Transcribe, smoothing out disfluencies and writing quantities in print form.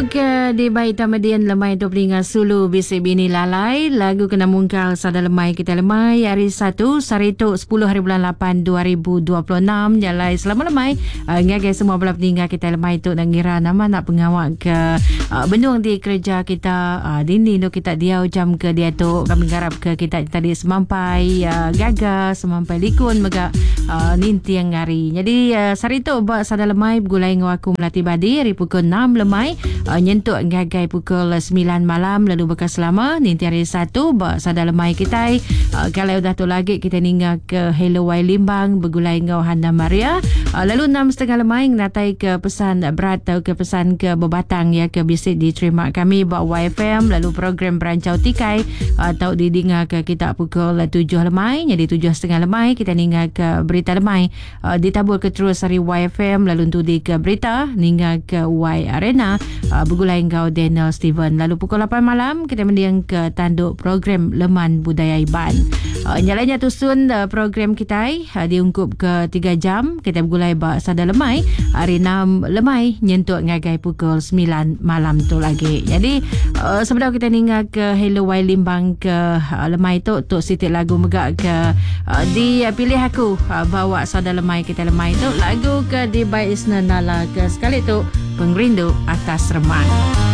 Ke dibai Tamadin lemai tu peninga sulu bisi bini lalai lagu kena mungkal sada lemai kita lemai hari satu sehari tu 10 hari bulan 8 2026 jalai selama lemai uh, ngagai semua bala peninga kita lemai tu nak ngira nama nak pengawa ke uh, benung di kerja kita uh, dini nu kita diau jam ke diatu kami ngarap ke kita tadi semampai uh, gaga semampai likun mega uh, ninting hari. Jadi uh, sehari tu ba sada lemai begulai enggau aku Melati Badi hari pukul 6 lemai uh, nyentuk ngagai pukul 9 malam lalu baka selama ninting hari satu ba sada lemai kitai uh, kalau udah tu lagi kita ninga ke Hello Wai Limbang begulai enggau Hana Maria uh, lalu 6.30 lemai ngatai ke pesan berat atau ke pesan ke bebatang ya ke bisi diterima kami ba YFM lalu program Berancau Tikai atau didinga ke kita pukul 7 lemai jadi 7.30 lemai kita ninga ke berita lemai uh, ditabur ke terus ari YFM lalu entudi ke berita ninga ke Y Arena uh, begulai enggau Daniel Steven lalu pukul 8 malam kita mending ke tanduk program Leman Budaya Iban. Uh, nyalanya tusun uh, program kita uh, diungkup ke 3 jam kita begulai ba sada lemai hari 6 lemai nyentuk ngagai pukul 9 malam tu lagi. Jadi uh, sebelum kita ninga ke Hello Y Limbang ke uh, lemai tu tu siti lagu mega ke uh, dipilih aku uh, bawa sada lemai kita lemai tu lagu ke di by Isna Nala ke sekali tu Pengerindu Atas Remang.